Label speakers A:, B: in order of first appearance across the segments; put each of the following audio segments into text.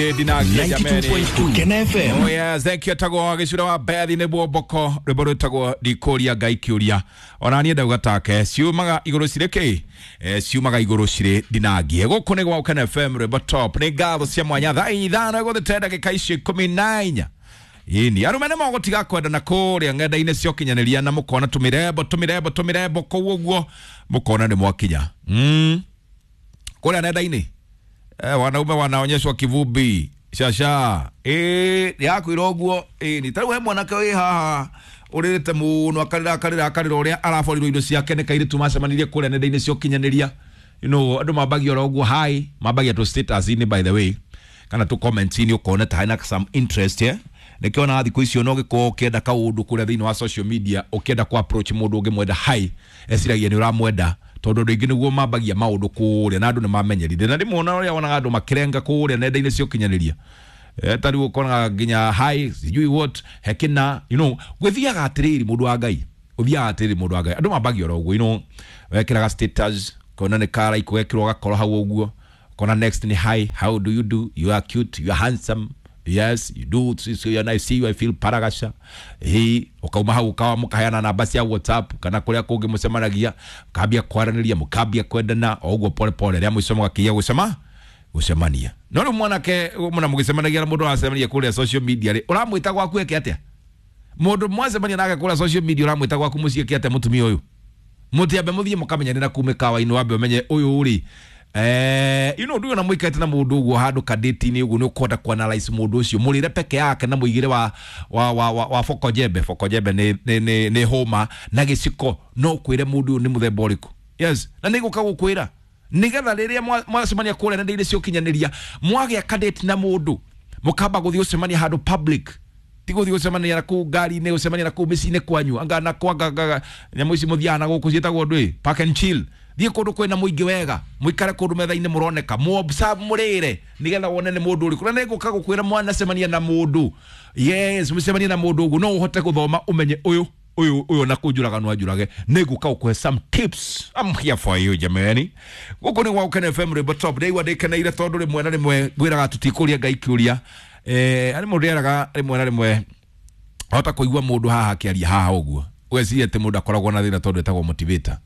A: 92.2 Kena FM.
B: Oh yes, thank you tagwo gicura wa Bethi nĩ bwomboko rwĩmbo rwĩtagwo ndikũria Ngai kĩũria ona niĩ ndauga take ciumaga igũrũ cirĩ kĩ ciumaga igũrũ cirĩ ndinangie gũkũ nĩ gwa Ũkena FM rwĩmbo top nĩ ngatho cia mwanya thaa 5 gũthĩte ndagĩka icio 14. Ĩni arũme nĩ mogũtiga kwendana kũrĩa ng'enda-inĩ cia ũkinyanĩria na mũkona tũmĩrembo tũmĩrembo tũmĩrembo kũu ũguo mũkona nĩ mwakinya kũrĩa nenda-inĩ. Wanaume wanaonyeshwa kivumbi shasha yakwira ũguo ni tarĩu he mwanake wĩ haha ũrĩrĩte mũno akarĩra akarĩra akarĩra ũrĩa araborirwo indo ciake nĩ kairĩtu macemanirie kũrĩa nenda-inĩ cia ũkinyanĩria. You know, andũ mambagia oro ũguo hi mambagia tũ status-inĩ by the way kana tũ comments-inĩ ũkona ta hena some interest nĩkĩo ona thikũ icio no gĩkorwo ũkĩenda kaũndũ kũrĩa thĩinĩ wa social media ũkĩenda ku approach mũndũ ũngĩmwenda hi eciragia nĩ ũramwenda tondũ andũ aingĩ nĩguo mambagia maũndũ kũrĩa na andũ nĩ mamenyerire na rĩmwe ona ũrĩa wonaga andũ makĩrenga kũrĩa nenda-inĩ cia ũkinyanĩria ta rĩu ũkonaga nginya hi sijui what hekina you know gwĩthiaga atĩrĩrĩ mũndũ wa Ngai ũthiaga atĩrĩrĩ mũndũ wa Ngai andũ mambagia oro ũguo you know wekĩraga status kona nĩ karaikũ gekĩrwo gakoro hau ũguo kona next ni hi how do you do you are cute you are handsome yes you do so and I see you I feel paragasha hi ukauma hau ukawa mukaheana namba cia WhatsApp kana kuria kungi mucemanagia mukambia kwaranĩria mukambia kwendana o ũguo pole pole rĩa mũico mũgakinya gũcema gũcemania no rĩu mwanake mũna mũgĩcemanagia na mũndũ ũracemania kũrĩa social media rĩ ũramwĩta gwaku eke atĩa mũndũ mwacemania nake kũrĩa social media ũramwĩta gwaku mũciĩ eke atĩa mũtumia ũyũ mũtiambe mũthiĩ mũkamenyanĩra kuu mĩkawa-inĩ wambe ũmenye ũyũ rĩ you know nduyo na mwikaite na mundu uguo handu kadeti-inĩ uguo nĩ ũkwenda kuanalyze mundu ucio mũrĩre peke yake na mũigĩre wa wa wa wa, wa fokojembe fokojembe nĩ hũma na gĩciko no kwĩre mundu ũyũ nĩ mũthemba ũrĩkũ yes na nĩ gũka gũkwĩra nĩgetha rĩrĩa mwacemania kũrĩa nenda-inĩ cia ũkinyanĩria mwagĩa kadeti na mũndũ mũkamba gũthiĩ gũcemania handũ public ti gũthiĩ gũcemania na kũu ngari-inĩ gũcemania na kũu mĩciĩ-inĩ kwanyu anga na kwanga nyamũ ici mũthiaga na gũkũ ciĩtagwo ndũĩ park and chill thiĩ kũndũ kwĩna mũingĩ wega mũikare kũndũ metha-inĩ mũroneka mũobserve mũrĩre nĩgetha wone nĩ mũndũ ũrĩkũ na nĩngũka gũkwĩra mwanacemania na mũndũ yes mũcemanie na mũndũ ũguo no ũhote gũthoma ũmenye ũyũ ũyũ ũyũ na kũnjũraga no anjũrage nĩngũka gũkũhe some tips I'm here for you jamani gũkũ nĩ gwa Ũkena FM rwĩmbo top ndaigua ndĩkeneire tondũ rĩmwe na rĩmwe ngwĩraga tũtikũria Ngai kĩũria arĩ mũndũ eraga rĩmwe na rĩmwe ahota kũigua mũndũ haha akĩaria haha ũguo ũgeciria atĩ mũndũ akoragwo na thĩna tondũ etagwo motivator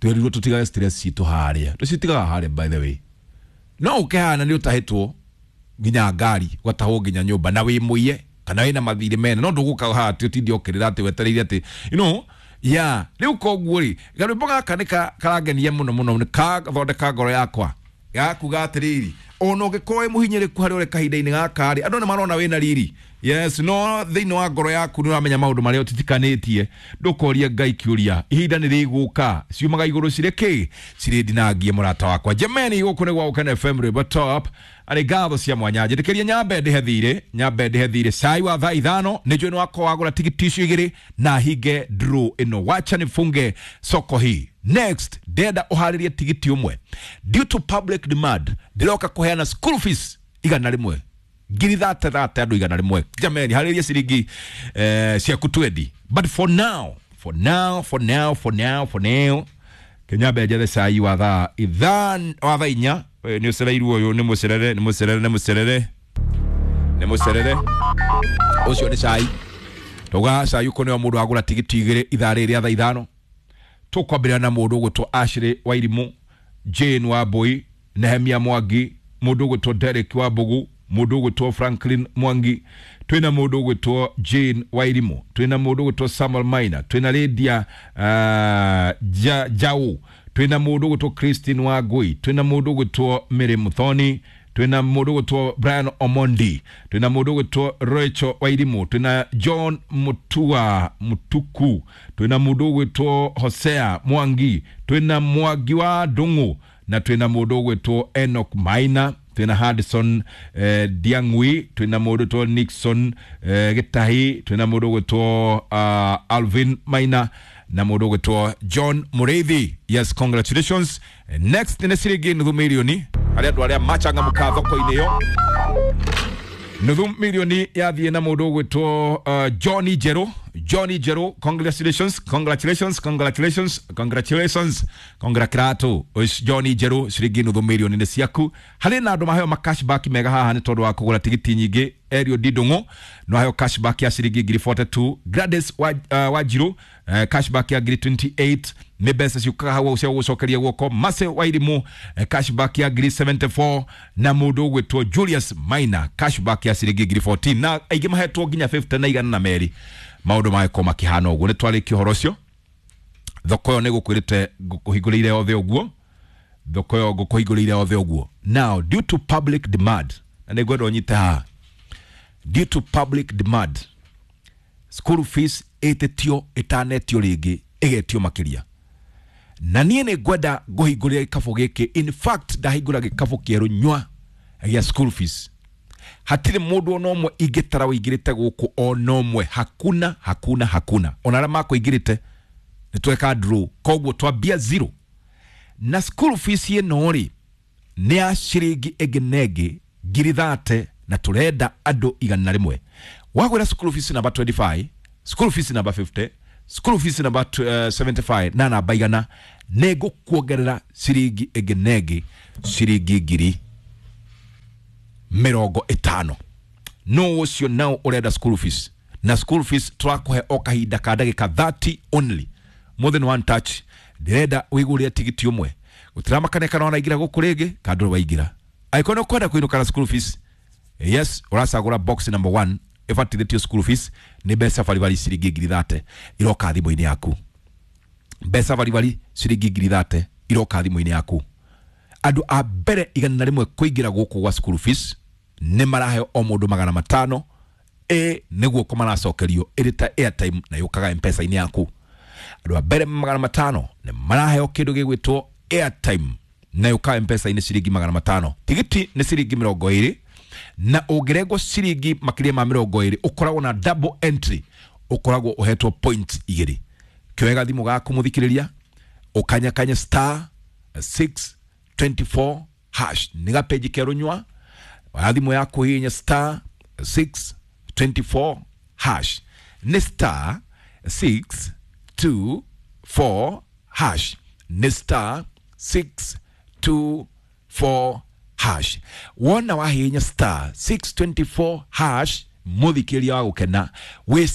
B: twerirwo tũtigage stress citũ harĩa tũcitigaga harĩa by the way no ũkĩhana nĩ ũtahĩtwo nginya ngari ũgatahwo nginya nyũmba na wĩ mũiye kana wĩna mathirĩ mene no ndũgũka haha atĩ ũtinde ũkĩrĩra atĩ wetereire atĩ you know yeah rĩu koguo rĩ garwĩmbo gaka nĩ karangenia mũno mũno nĩ kathondeka ngoro yakwa gakuga atĩrĩrĩ ona ũngĩkorwo wĩ mũhinyĩrĩku harĩa ũrĩ kahinda-inĩ gaka rĩ andũ nĩ marona wĩna riri yes no thĩinĩ wa ngoro yaku nĩ ũramenya maũndũ marĩa ũtitikanĩtie ndũkorie Ngai kĩũria ihinda nĩ rĩgũka ciumaga igũrũ cirĩ kĩ cirĩ ndinangie mũrata wakwa jamani gũkũ nĩ gwa Ũkena FM rwĩmbo top arĩ ngatho cia mwanya njĩtĩkĩria nyambe ndĩhe thirĩ nyambe ndĩhe thirĩ cai wa thaa 5 nĩ njũĩ nĩ wakwa wagũra tigiti icio igĩrĩ na hinge draw ĩno wacha nifunge soko hii next ndenda ũharĩrie tigiti ũmwe due to public demand ndĩroka kũheana school fees 100 ngiri thate thate andũ 100 jamani harĩrie ciringi ciaku 20 but for now for now for now for now for now kenyambe njethe cai wa thaa 5 wa thaa 4 nĩ ũcereirwo ũyũ nĩ mũcerere nĩ mũcerere nĩ mũcerere nĩ mũcerere ũcio nĩ cai tauga cai ũkũ nĩo mũndũ agũra tigiti 2 ithaa rĩrĩ rĩa thaa 5 tũkwambĩrĩria na mũndũ ũgwĩtwo Ashley Wairimũ Jane Wambui Nehemia Mwangi mũndũ ũgwĩtwo Derek Wambugu mũndũ ũgwĩtwo Franklin Mwangi twĩna mũndũ ũgwĩtwo Jane Wairimũ twĩna mũndũ ũgwĩtwo Samuel Maina twĩna Lydia Jau twĩna mũndũ ũgwĩtwo Christine Wangui twĩna mũndũ ũgwĩtwo Mary Muthoni twĩna mũndũ ũgwĩtwo Brian Omondi twĩna mũndũ ũgwĩtwo Rachel Wairimũ twĩna John Mutua Mutuku twĩna mũndũ ũgwĩtwo Hosea Mwangi twĩna Mwangi wa Ndung'u na twĩna mũndũ ũgwĩtwo Enoch Maina twĩna Hudson Diang'ui twĩna mũndũ ũgwĩtwo Nixon Gĩtahi twĩna mũndũ ũgwĩtwo Alvin Maina na mũndũ ũgwĩtwo John Mũrĩithi yes congratulations next nĩ ciringi nuthu milioni harĩ andũ arĩa machangamũka thoko-inĩ ĩyo nuthu milioni yathiĩ na mũndũ ũgwĩtwo Johnny Njerũ Johnny Njeru, congratulations, congratulations, congratulations, congratulations, congratulato Johnny Njeru, ciringi nuthu mirioni nĩ ciaku. Harĩ na andũ maheo ma cashback mega haha nĩ tondũ wa kũgũra tigiti nyingĩ. Erio Didong'o no aheo cashback ya ciringi ngiri 42. Gladys Wanjiru cashback ya ngiri 28, nĩ mbeca ciũkaga hau cia gũcokeria guoko. Mase Wairimu cashback ya ngiri 74, na mũndũ ũgwĩtwo Julius Maina cashback ya ciringi ngiri 14, na aingĩ mahetwo nginya 50 na igana na merĩ. Maũndũ magĩkorwo makĩhana ũguo. Nĩ twarĩkia ũhoro ũcio. Thoko ĩyo nĩ gũkwĩrĩte ngũkũhingũrĩire othe ũguo, thoko ĩyo ngũkũhingũrĩire othe ũguo. Now, due to public demand, na nĩ ngwenda ũnyite haha, due to public demand, school fees ĩtĩtio ĩtanetio rĩngĩ ĩgetio makĩria, na niĩ nĩ ngwenda ngũhingũrĩre gĩkabũ gĩkĩ. In fact, ndahingũra gĩkabũ kĩerũ nywa gĩa school fees. Hatirĩ mũndũ ona ũmwe ingĩtara wĩingĩrĩte gũkũ, ona ũmwe. Hakuna, hakuna, hakuna. Ona arĩa makũingĩrĩte nĩ tweka draw, koguo twambia zero. Na school fees ĩno rĩ, nĩ ya ciringi ĩngĩ na ĩngĩ ngiri 30, na tũrenda andũ 100. Wagwĩra school fees namba 25, school fees namba 50, school fees namba 75 na namba 100, nĩ ngũkuongerera ciringi ĩngĩ na ĩngĩ ciringi ngiri 50. No ũcio nao ũrenda school fees, na school fees tũrakũhe o kahinda ka ndagĩka 30 only, more than one touch. Ndĩrenda wĩgũrĩre tigiti ũmwe, gũtiramakania kana wanaingĩra gũkũ rĩngĩ kana ndũrĩ waingĩra. Angĩkorwo nĩ ũkwenda kũinũka na school fees, yes, ũracagũra box number 1 ĩbatithĩtio school fees. Nĩ mbeca baribari ciringi ngiri 30 iroka thimũ-inĩ yaku. Mbeca baribari ciringi ngiri 30 iroka thimũ-inĩ yaku. Andũ a mbere 100 kũingĩra gũkũ gwa school fees nĩ maraheo o mũndũ 500, ĩ nĩguo ko maracokerio ĩrĩ ta airtime na yũkaga mpesa-inĩ yaku. Andũ a mbere 500 nĩ maraheo kĩndũ gĩgwĩtwo airtime na yũkaga mpesa-inĩ ciringi 500. Tigiti nĩ ciringi 20, na ũngĩrengwo ciringi makĩria ma 20 ũkoragwo na double entry, ũkoragwo ũhetwo point igĩrĩ. Kĩoe thimũ gaku, mũthikĩrĩria, ũkanyakanye star 624 hash, nĩ gapeji kerũ nywa. Oya thimũ yaku, hihinya star 624 hash, nĩ star 624 hash, nĩ star 624 hash. Wona wahihinya star 624 hash, mũthikĩrĩria wa gũkena wĩ